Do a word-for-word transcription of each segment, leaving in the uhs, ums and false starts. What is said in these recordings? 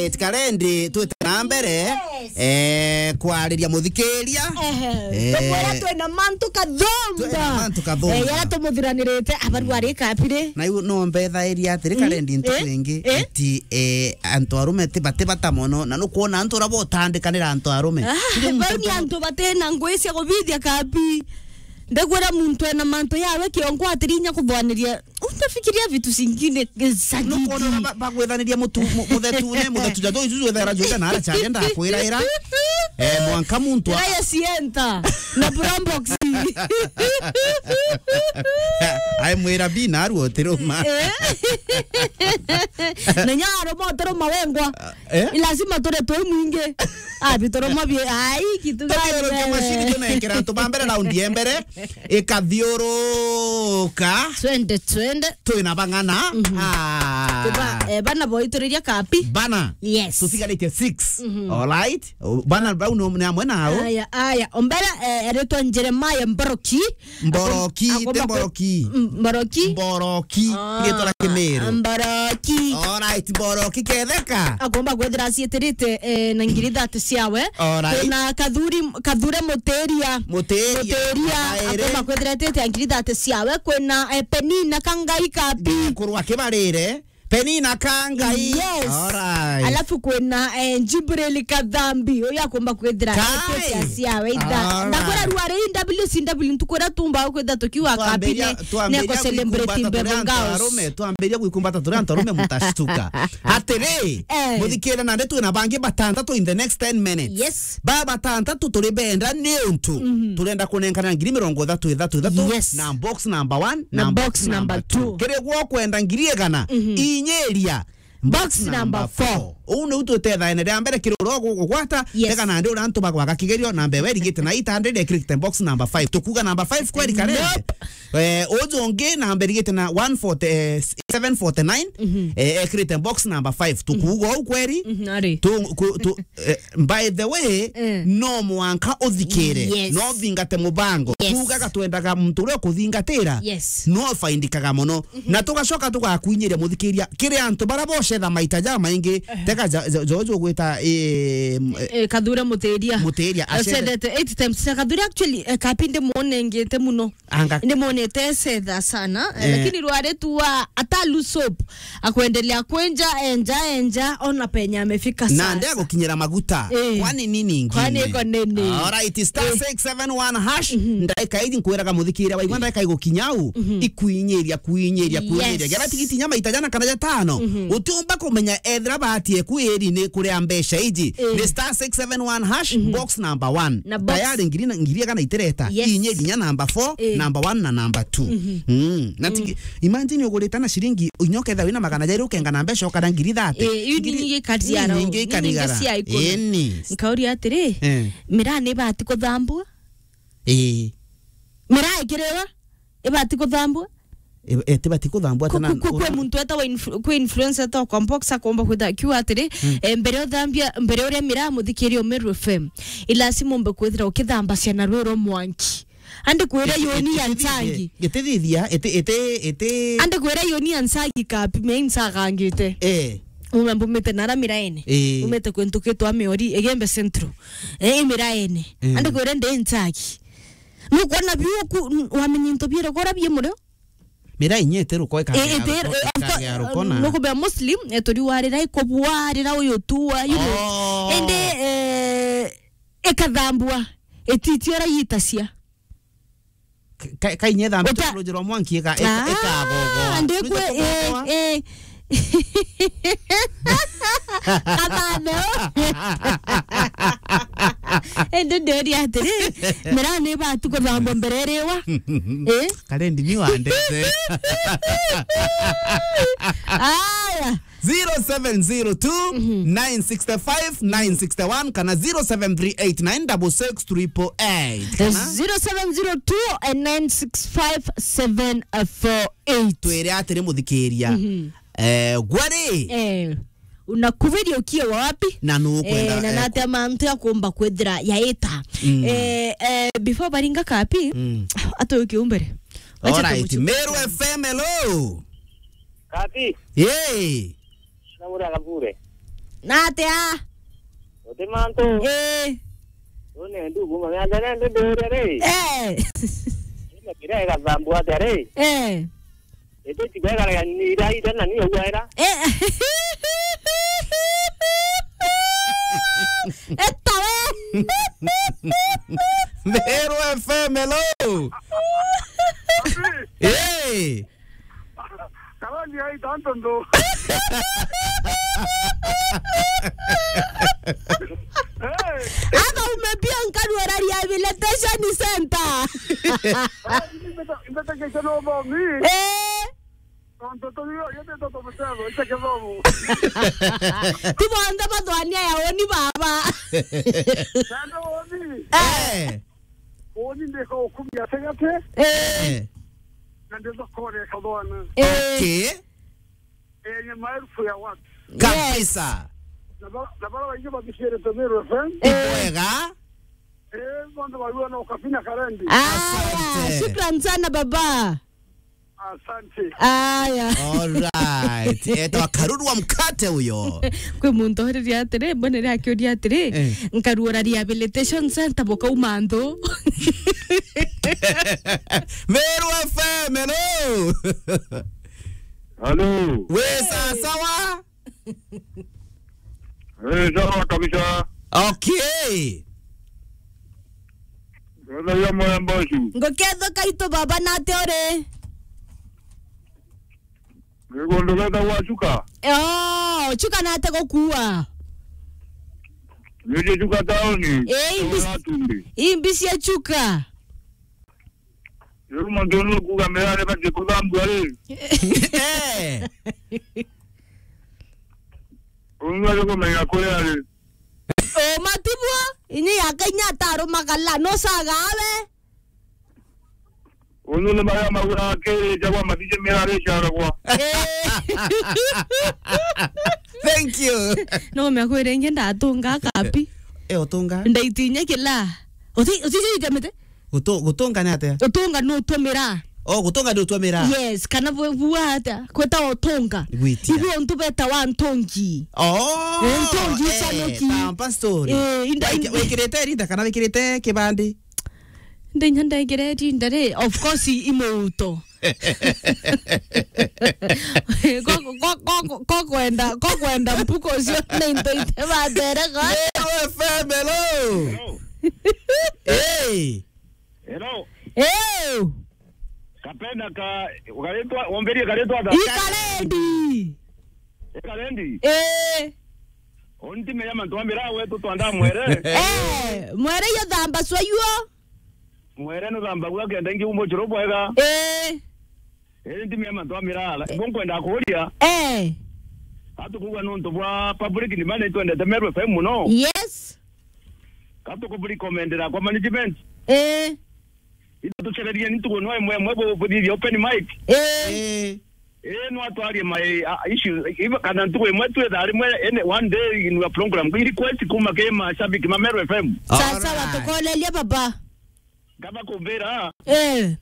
Alright, Karendi, twite na mbere. Yes. Eh, kwariria muthikiria. Ehe. Eh. Tukwira twina mantu kathumba. Twina mantu kathumba. Eh, yara tumuthiranirite, abaru ari kapiri. Na iu no mbethairia atiri, Karendi, ntuku ingi, iti, eh, antu arume ti bati bata mono, na nukwona antu ura botandikanira antu arume. Ah, bau ni antu batina ngui cia kubithia kapi. Ndekwira muntu ena mantu yawe kiongo atirinya kuthwaniria. Utafikiria vitu zingine za gigi. Nukwona ba-, bagwithaniria mutu-, mu-, muthetune, muthetu ja thoi juju ethera juja na ara charia ndakwira ira. Eh, mwanka muntu a- Ira ya sienta. Na brown box. Ai mwira bi na aru otiruma. Eh. Na nya aruma otiruma wengwa. Eh? Lazima tore twi mwingi. Ah, bitoro mabie, ai, kitu gani wewe? Tukiorokia mashini, tunengera antu ba mbere raundi ya mbere, ikathiuruka. Twende, twende. Twina bang'ana. Ah. Tuba, eh, bana boituriria kapi. Bana. Yes. Tutigaritie six. Alright? O, bana bau ni, ni amwe nao. Aya, aya. Ombere, eh, eretwa Jeremiah Mboroki. Mboroki, Akom-, akomba ti kwe-, Mboroki. Mm, Mboroki. Mboroki. Ah, riitwa ria Kimiru. Mboroki. Alright, Mboroki ketheka. Akomba kwithira acietirite, eh, na ngiri thate ciawe. Alright. Kwina Kathuri, Kathure Mutiria. Mutiria. Mutiria. Akomba kwithira etite na ngiri thate ciawe. Kwina, eh, Penina Kangai Kapi. Kurwa kibarire. Penina Kangai. Yes. Alright. Alafu kwina, eh, Jibril Kathambi, uyu akomba kwithira etite ciawe itha. Alright. Ndakwira rwari W C W ntuku iria tumba kwitha tukiwa kapine, twambiria, twambiria neko celebrate kuikumbata turi antu arume, twambiria kuikumbata turi antu arume, mutashtuka. Atiri, eh, muthikire nandi twina bangi batantatu in the next ten minutes. Yes. Ba batantatu turi benda ni untu turenda kunenkana ngiri mirongo ithatu, ithatu, ithatu, yes, na box number one, na box number two. Kiri gwo kwenda ngiri igana, inyiria box number four. Uu niu tutethaene ria mbere kiri uria ugugwata, yes, tega nandi uria antu bagwaga kigerio, namba iwe irigite na itande iria ikirite box number five. Tukuga number five kweri, Karendi? Nope. Eh, uju ungi namba irigite na one forty, eh, seven forty-nine, eh, ekirite box number five. Tukuga uu kweri? Mhm, ari. Tu, ku, tu, Eh, by the way, eh, no mwanka uthikire, yes, no thingate mubango. Yes. Tugaga twendaga muntu uria ukuthingatira, yes, no faindikaga mono. Mhm. Na tugacoka tugakwinyiria muthikiria kiri antu bara bocetha maita ja maingi, eh, teka ja, ja, jo, jo gwita, eh, m-, eh, Kathure Mutiria. Mutiria, acethe- acethete eight times. Kathure actually, eh, kapinde mwonengete muno. Anga. Ni mwonete cetha sana, eh, eh, lakini rwari tu wa Atalu Soap akwendelea kwenja, enja, enja, ona penye amefika sasa. Na nde agukinyira maguta. Eh. Kwani nini ingine? Kwani iko nini? Alright, star six seven one hash, eh, mhm, ndaika iji nkwiraga muthikire waigua, eh, ndaika igukinya u, mhm, ikuinyiria, kuinyiria, kuinyiria. Yes. Gera tigiti nya maita jana kana jatano. Mhm. Utiumba kumenya ethira bahati eku iri ni kuria mbeca iji. Eh. Ni star six seven one hash, mhm, box number one. Na box. Tayari ngiri na, ngiri igana itireta. Yes. Inye inya number four, eh, number one na number two. Mhm. Mm. Na tigi-, imagine ugurite na ciringi, inya ukethira wina magana jairi ukenga na mbeca ukara ngiri thate. Eh, iu ni ngiri, nyingi ikarigara, ni nyingi ikarigara. Eni. Nkauria atiri, eh, miraa ni ibati kuthambua? Eh. Miraa ikiriwa? Ibati kuthambua? E, e, tibati kuthambua. Ku-, ata na ku-, ku-, kwi muntu etawa influ-, kwi influencer etawa Compox akomba kwitha akiuga atiri, mm, eh, mbere uthambia, mbere uria miraa muthikiria Meru F M, ilasimu umbe kwithira ukithambasya na rwi rwa mwanki. Andi kwira yoni ya nsangi. Gitithithia, iti, iti, iti. Andi kwira yoni ya nsangi kapi, me insagangite. Eh. Ume mbumite nara miraene. Eh. Umite kwentu kitwa Miori, Igembe Central. Eh, miraene. Mm. Andi kwira ndi nsangi. Nukwona biu ku-, n-, wamenya into biere kora bie murio? Mira inya itiruko ikagea, eh, itiru-, rukona, eh, after, ikagea rukona. Nukubea Muslim, eh, turi warira ikubwarira uyu tuwa, you know. Oh. Indi, eh, ikathambua, ititi ora yitacia. Ka-, ka-, ka inya ithambitwe uta- ruji rwa mwanki ika-, ika-, ah, ikagogoa. Ndikwe, eh, eh. Kathame o. Indi ndiuria atiri, miraa ni ibati kuthambwa mbere iriwa? Eh? Karendi ni wandete. Aya. Zero seven zero two, nine six five, nine six one kana zero seven three eight nine six six triple eight. Kana zero seven zero two, nine six five, seven four eight. Twire atiri muthikiria. Mhm. Eh, gwari? Eh, unakubiria ukiwa wapi? Na nukwenda, eh, na eh, nate mantu akumba kwithira yaita. Mm. Eh, eh, before baringa kapi, mm, atoke umbere. Wacha. Alright, tumuchukue. Meru F M, hello. Kapi. Yay. Na mura kabure. Na atia? Uti mantu. Eh. Une ndugu, mwana nene ndu nduria ri. Eh. Ina kira igathambu atia ri? Eh. Ete tiga gara ni ira ira na ni uwa ira. Eh. Eta we. Meru F M, hello. Hey. Karani ai tanto ndo. Eh. Aba umepia nkaru rehabilitation center. Eh, imbeta, imbeta kesho no bomi. Eh. Tonto to yo, yo te toto mutego, ite kithomo. Ti bonthe bathwania ya uni baba. Nando uni. Eh. Uni ndiko ukumia tegate. Eh. Eh. Na ndiko kore kathwana. Eh. Okay. Enye maelfu ya watu. Kabisa. Yes. Na ba-, na bara baingi bakishirite Meru F M. Eh. Bwega. Eh, bonthe barua na ukabina karendi. Aya, asante. Shukran sana baba. Asante. Aya. All right. Etwa Karuru wa mkate huyo. Kwi muntu oririe atiri, mbonere akiuria atiri, eh, nkaruora rehabilitation center bukauma nthu. Meru F M, hello. Hello. We sawa sawa? Eh, sawa kabisa. Okay. Wethagia mwemba ucio. Nguketho kaitu baba, na atia uri? Ni gundu getagwa Chuka. Oh, Chuka na atia gukua? Nije Chuka tauni. Eh, imbi-, imbi cia Chuka. Riu muntu nu kuuga mirare bati kuthambua ri? Eh. Ungi ari kumenya kuria ri? O matibua, inyi yaka inya atarumaga la, no saga awe. Ungi ni maria maura kiri jagwa matije mirare caragwa. Eh. Thank you. No me akwire ingi ndatunga kapi. Eh, utunga? Ndaitinya kila. Uti, uti jite mete? Gutu-, gutunga ni atia? Gutunga ni utumira. Oh, gutunga ni utumira. Yes, kana bu-, bua atia? Kweta utunga. Gwitia. Ibu untu beta wa ntungi. Oh, eh, ntungi eh, cia nuki. Tampa story. Eh, inda, wiki-, inda. Wikirite rinda kana wikirite kibandi? Ndinya ndekire rinda ri, of course, i muuto. Ko, ko, ko, ko, ko kwenda, ko kwenda mpuko cio ni into ite batere ko. Meru F M, hello. Hello. Hey. Hello. Hey. Kapenda ka, karetwa, womberie karetwa ata? Ikarendi. Ikarendi? Eh. Onti meya mantu ambira wetu twanda mwere. Eh, mwere yo thamba swa yuo. Mwere no thamba gwa kenda ngi umo churo bwega. Eh. Eh, nti meya mantu ambira ala. Bo nkwenda kuria. Eh. Atukugwa nontu bwa public ni mane twendete Meru F M muno. Yes. Katuku recommendera kwa management. Eh. Ithucererie ni ntuku no imwe imwe bu-, buthithia open mic. Eh. Eh. Eh, no atwarie my, uh, issues. Iba kana ntuku imwe twi thaa rimwe, ene one day in your program. Request kuma ki mashabiki ma Meru F M. Sasa, alright, watukolelia baba. Ngaba kumbira. Eh.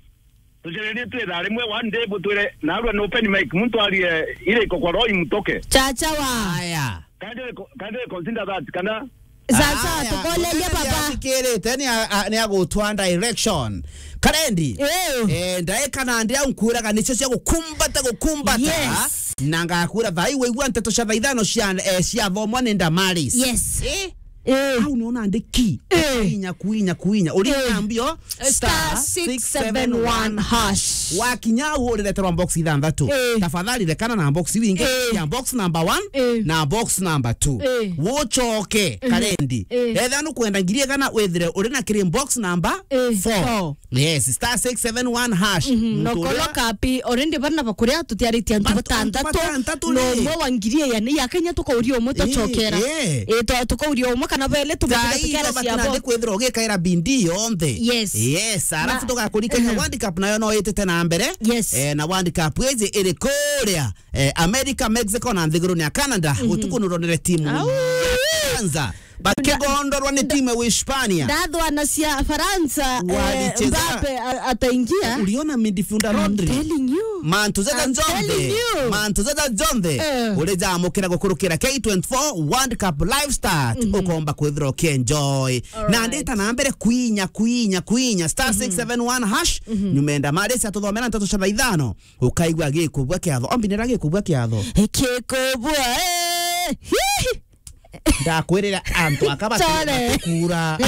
Tucererie twi thaa rimwe one day butwire narua ni open mic. Muntu arie ire iko kwa Roy Mutoke. Chacha wa. Aya. Can they co-, can they consider that? Kana sasa, aya, tukolelia baba. Athikirite ni a-, a-, ni agutwa direction. Karendi. Ew. Eh, ndaika na ndi au nkwiraga nicio cia gukumbata, gukumbata. Yes. Na ngakwira thaa ii waigua nteto cia thaa ithano cia, eh, cia thomwa ni Damaris. Yes. Eh? Eh. Au niona ndiki. Eh. Kuinya, kuinya, kuinya. Uri, eh, na mbio. Star six seven one hash. Wakinya au urireterwa box ithanthatu. Eh. Tafadhali rekana na box wingi. Eh. Ya box number one, eh, na box number two. Eh. Wochoke, eh, Karendi. Eh. Etha nukwenda ngiri igana withire uri na kiri box number, eh, four. Four. Yes, star six seven one hash. Mhm. No kolo kapi, already bana bakuria tutiaritie antu batantatu. Antu batantatu no ni. Umwe wa ngiri ya ni ya Kenya tukauria umwe, eh, tucokera. Eh. Eh, to-, tukauria umwe kana bele. Thaa ii tumukira tukiara cia bo. Kwithirwa ugikaira bindi yonthe. Yes. Yes, alafu tugakurikania, mhm, World Cup nayo no itite na mbere. Yes. Eh, na World Cup iji iri kuria, eh, America, Mexico na nthiguruni ya Canada. Mhm. Utuku nuronere timu ya kwanza Bakigondorwa ni timu ya Uhispania. Ndathwana cia Faransa, eh, walicheza Mbappe a-, ataingia. Uliona midfielder Rodri? I'm telling you. Mantu jaja I'm telling jonthe. You. Mantu jaja jonthe. Eh. Uri jamukira gukurukira K twenty-four World Cup live start. Mhm. Ukomba kwithira ukienjoy. Alright. Na ndita na mbere kwinya, kwinya, kwinya. Star six seven one hash. Mhm. Nyumenda mari cia tuthomera nteto cia thaa ithano. Ukaigua gikubua kiatho. Ombinira gikubua kiatho. Gikubua, eh. Hihi. Ndakwirire antu aka bati-, Chore. Batikura.